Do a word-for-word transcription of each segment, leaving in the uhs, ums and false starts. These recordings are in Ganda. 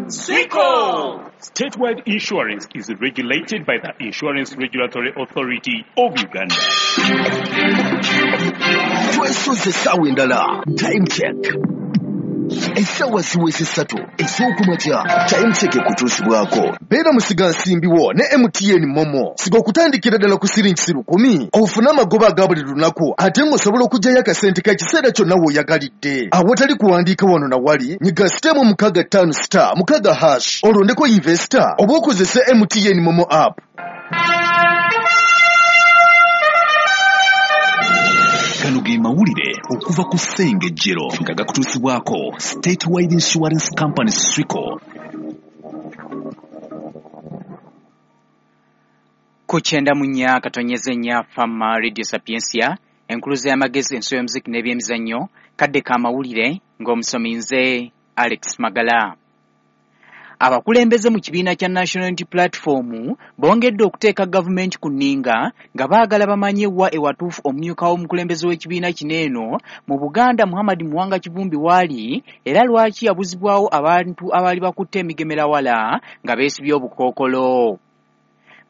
Swico! Statewide insurance is regulated by the Insurance Regulatory Authority of Uganda. Twesoze essaawa endala. Time check. Essaawa ziweze ssatu ez'okumakya. Time check ekutuusibwako. Beera musigansimbi wo ne M T N Momo. Siga okutandikira ddala ku siringi lukumi. Ofune amagoba aga buli lunaku ate ng'osobola okuggyayo akasente k'ekiseera kyonna w'oyagalidde. Awatali kuwandiika wano na wali, nyiga sitemu mukaaga ttaano star mukaaga hash olondeko investor oba okozese M T N Momo app. Gano ge mawulire okuva ku Ssengejjero nga gakutuusibwako Statewide Insurance Company Swico. Ku kyenda mu nnya katonyeze nnya Fama Radio Sapientia, enkuluze y'amagezi, enso y'omuziki n'ebyemizannyo, kadde ka mawulire ng'omusomi nze Alex Magala. Abakulembeze mu kibiina kya National Unity Platform bongedde okuteeka gavumenti ku nninga nga baagala bamanye wa ewatuufu omumyuka w'omukulembeze w'ekibiina kino eno mu Buganda Muhammad Muwanga Kivumbi waali, era lwaki yabuzibwawo abantu abaali bakutte emigemerawala nga beesibye obukookolo.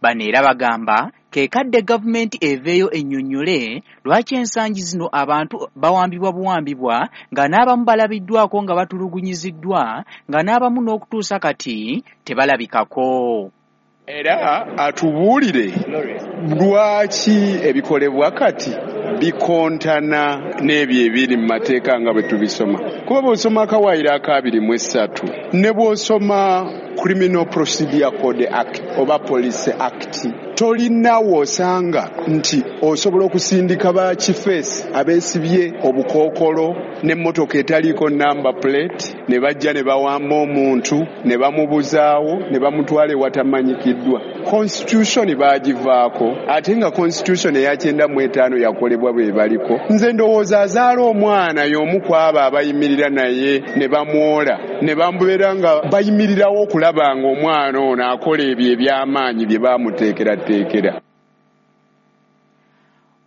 Bano era bagamba ke kadde gavumenti eveeyo ennyonnyole lwaki ensangi zino abantu bawambibwa buwambibwa nga n'abamu balabiddwako nga batulugunyiziddwa nga n'abamu n'okutuusa kati tebalabikako. Era atubuulire lwaki ebikolebwa kati bikontana n'ebyo ebiri mu mateeka nga bwe tubisoma. Kuba bw'osoma akawaayiro akabiri mu esatu ne bw'osoma Criminal Procedure Code Act oba Police Act, tolina w'osanga nti osobola okusindika ba kifeesi abeesibye obukookolo n'emmotoka etaliiko number plate ne bajja ne bawamba omuntu ne bamubuzaawo ne bamutwala ewatamanyikiddwa. Constitution baagivaako, ate nga Constitution eya kyenda mu etaano yakolebwa bwe baliko. Nze ndowooza azaala omwana y'omu ku abo abayimirira naye ne bamwola ne bamubeera nga bayimirirawo okulaba ng'omwana ono akola ebyo eby'amaanyi bye baamuteekerateekera.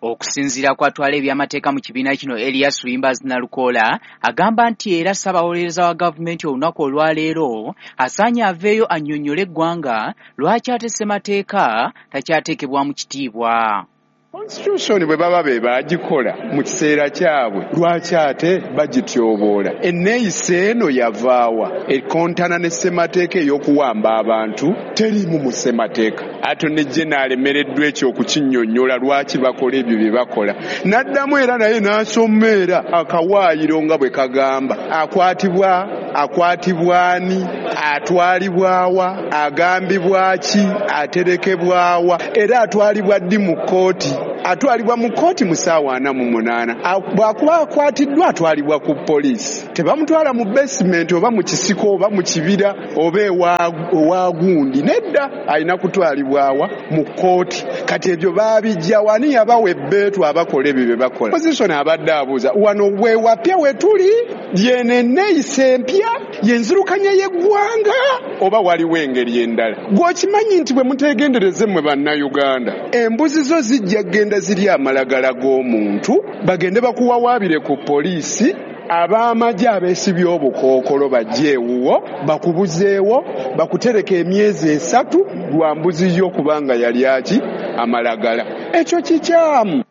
Okusinziira kw'atwala ebyamateeka mu kibiina kino Elias Wimbazi Nalukoola agamba nti era ssabawolereza wa gavumenti olunaku olwaleero asaanye aveeyo annyonnyole eggwanga lwaki ate ssemateeka takyateekebwa mu kitiibwa. Constitution bwe baba be baagikola mu kiseera kyabwe lwaki ate bagityoboola? Enneeyisa eno yavaawa ekontana ne ssemateeka ey'okuwamba abantu teriimu mu ssemateeka. Ate ne Jena alemereddwa ekyo okukinnyonnyola lwaki bakola ebyo bye bakola. N'addamu era naye n'asoma era akawaayiro nga bwe kagamba akwatibwa akwatibwa ani, atwalibwawa, agambibwa ki, aterekebwawa, era atwalibwa ddi mu kkooti. Atwalibwa mu kkooti mu ssaawa ana mu munaana. Bw'akuba akwatiddwa atwalibwa ku poliisi. Tebamutwala mu basement oba mu kisiko oba mu kibira oba ewa gundi. Nedda, alina kutwalibwawa mu kkooti. Kati ebyo baabijja wani yabawa ebbeetu abakola ebyo bye bakola. Opposition abadde abuuza wano we wapya we tuli yeno enneeyisa empya yenzirukanya y'eggwanga oba waliwo engeri endala. Gw'okimanyi nti bwe muteegendereze mmwe Bannayuganda embuzi zo zijja kugenda ziri amalagala g'omuntu bagende bakuwawaabire ku poliisi, ab'amagye abeesibye obukookolo bajje ewuwo bakubuzeewo bakutereka emyezi esatu lwa mbuzi yo kubanga yali aki amalagala. Ekyo kikyamu.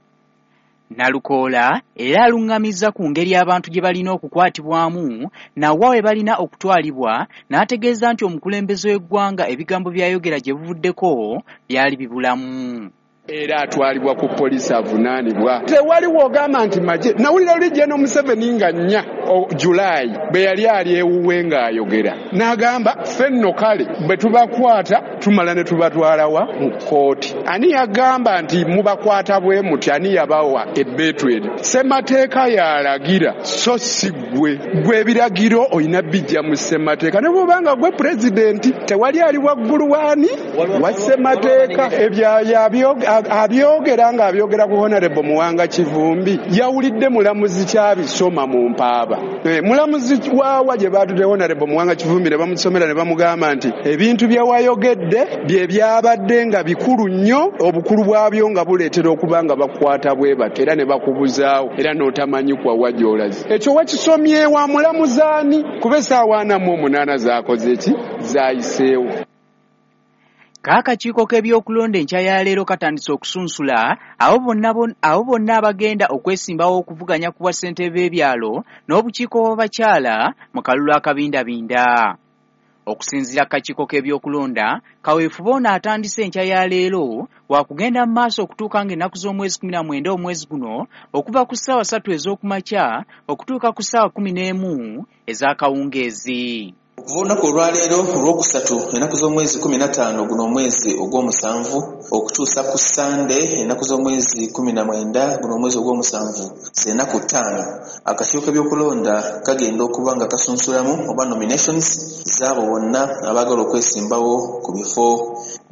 Nalukoola era aluŋŋamizza ku ngeri abantu gye balina okukwatibwamu nawa we balina okutwalibwa n'ategeeza nti omukulembeze w'eggwanga ebigambo by'ayogera gye buvuddeko byali bibulamu. Era atwalibwa ku poliisi avunaanibwa. Tewaliwo ogamba nti magye. Nawulira luli Gen Museveni nga nnya Julaayi bwe yali ali ewuwe ng'ayogera n'agamba ffe nno kale bwe tubakwata tumala ne tubatwalawa mu kkooti. Ani yagamba nti mubakwata bwe muti? Ani yabawa ebbeetu eryo? Ssemateeka yalagira so si ggwe. Ggwe ebiragiro olina bijja mu ssemateeka ne bw'obanga ggwe pulezidenti tewali ali waggulu waani wa ssemateeka. Ebyo yabyo Abyogera ng'abyogera ku Honorable Muwanga Kivumbi, yawulidde mulamuzi kyabisoma mu mpaaba. Mulamuzi waawa gye baatudde Honorable Muwanga Kivumbi ne bamusomera ne bamugamba nti ebintu bye wayogedde bye byabadde nga bikulu nnyo, obukulu bwabyo nga buleetera okuba nga bakukwata bwe batyo era ne bakubuzaawo era n'otamanyi kwa wa gy'olaze. Ekyo wakisomye wa mulamuzi ani? Kuba essaawa ana mu omunaana zaakoze ki? Zaayiseewo. Kaakakiiko k'ebyokulonda enkya ya leero katandise okusunsula abo bonna abo bonna abagenda okwesimbawo okuvuganya ku bwassentebe b'ebyalo n'obukiiko bw'abakyala mu kalulu akabindabinda. Okusinziira ku kakiiko k'ebyokulonda, kaweefube ono atandise enkya ya leero wakugenda mu maaso okutuuka ng'ennaku z'omwezi kkumi na mwenda omwezi guno okuva ku ssaawa ssatu ez'okumakya okutuuka ku ssaawa kkumi n'emu ez'akawungeezi. Okuva olunaku olwaleero olwokusatu ennaku z'omwezi kkumi na ttaano guno omwezi ogw'omusanvu okutuusa ku Ssande ennaku z'omwezi kkumi na mwenda guno omwezi ogw'omusanvu z'ennaku ttaano, akakiiko k'ebyokulonda kagenda okuba nga kasunsulamu oba nominations z'abo bonna abaagala okwesimbawo ku bifo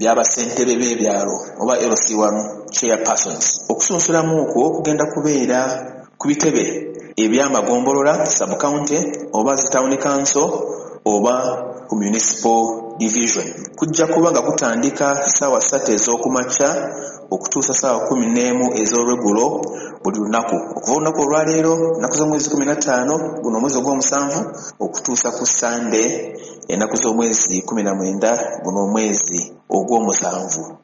by'abassentebe b'ebyalo oba L C one chairpersons. Okusunsulamu okwo kugenda kubeera ku bitebe eby'amagombolola sub-county oba zi town council oba ku municipal division. Kujja kuba nga kutandika ssaawa ssatu ez'okumakya okutuusa ssaawa kkumi n'emu ez'olweggulo buli lunaku, okuva olunaku olwaleero ennaku z'omwezi kkumi na ttaano guno omwezi ogw'omusanvu okutuusa ku Ssande ennaku z'omwezi kkumi na mwenda guno omwezi ogw'omusanvu.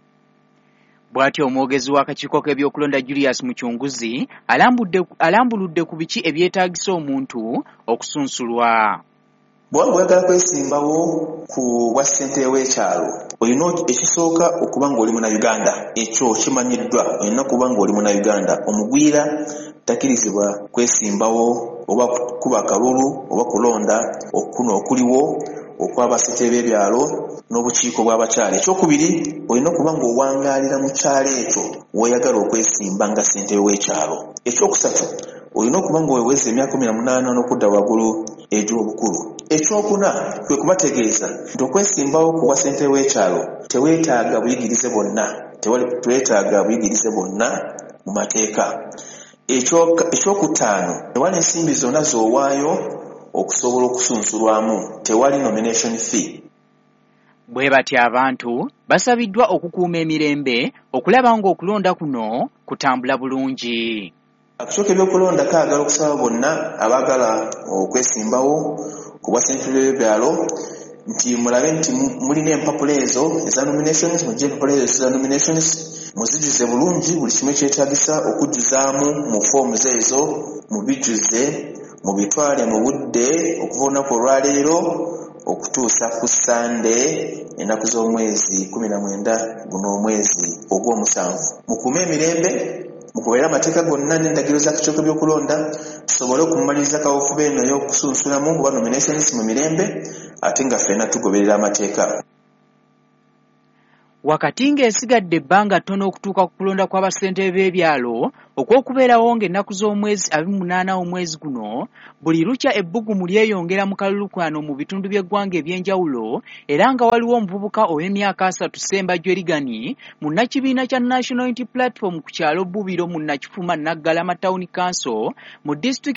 Bw'atyo omwogezi w'akakiiko k'ebyokulonda Julius Muchunguzi alambuludde ku biki ebyetaagisa omuntu okusunsulwa. Bw'oba oyagala kwesimbawo ku bwa ssentebe w'ekyalo, olina ekisooka okuba ng'oli Munnayuganda. Ekyo kimanyiddwa, olina okuba ng'oli Munnayuganda. Omugwira takkirizibwa kwesimbawo oba kuba kalulu oba kulonda okuno okuliwo okw'abassentebe b'ebyalo n'obukiiko bw'abakyala. Ekyokubiri, olina okuba ng'owangaalira mu kyalo ekyo w'oyagala okwesimba nga ssentebe w'ekyalo. Ekyokusatu, olina okuba ng'oweza emyaka kkumi na munaana n'okudda waggulu egy'obukulu. Ekyokuna kwe kubategeeza nti okwesimbawo ku bwa ssentebe w'ekyalo teweetaaga buyigirize bwonna, teweetaaga buyigirize bwonna mu mateeka. Ekyokutaano, tewali nsimbi zonna z'owaayo okusobola okusunsulwamu, tewali nomination fee. Bwe batyo abantu basabiddwa okukuuma emirembe okulaba ng'okulonda kuno kutambula bulungi. Akakiiko k'ebyokulonda kaagala okusaba bonna abaagala okwesimbawo ku bwa ssentebe b'ebyalo nti mulabe nti mulina empapula ezo eza nominations, mugye empapula ezo eza nominations muzijjuze bulungi buli kimu ekyetaagisa okujjuzaamu mu foomuzi ezo, mubijjuze mubitwale mu budde okuva olunaku olwaleero okutuusa ku Ssande ennaku z'omwezi kkumi na mwenda guno omwezi ogw'omusanvu. Mukuume emirembe, mugoberere amateeka gonna n'endagiriro z'akakiiko k'ebyokulonda tusobole okumaliriza kaweefube eno ey'okusunsulamu oba nominations mu mirembe ate nga ffenna tugoberera amateeka. Wakati ng'esigadde ebbanga ttono okutuuka ku kulonda kw'abassentebe b'ebyalo okw'okubeerawo ng'ennaku z'omwezi abiri mu munaana omwezi guno, buli lukya ebbugumu lyeyongera mu kalulu kano mu bitundu by'eggwanga eby'enjawulo era nga waliwo omuvubuka ow'emyaka asatu Ssembajjwe Rigani munnakibiina kya National Unity Platform ku kyalo Bbubiro mu Nakifuma Naggalama Town Council mu disitulikiti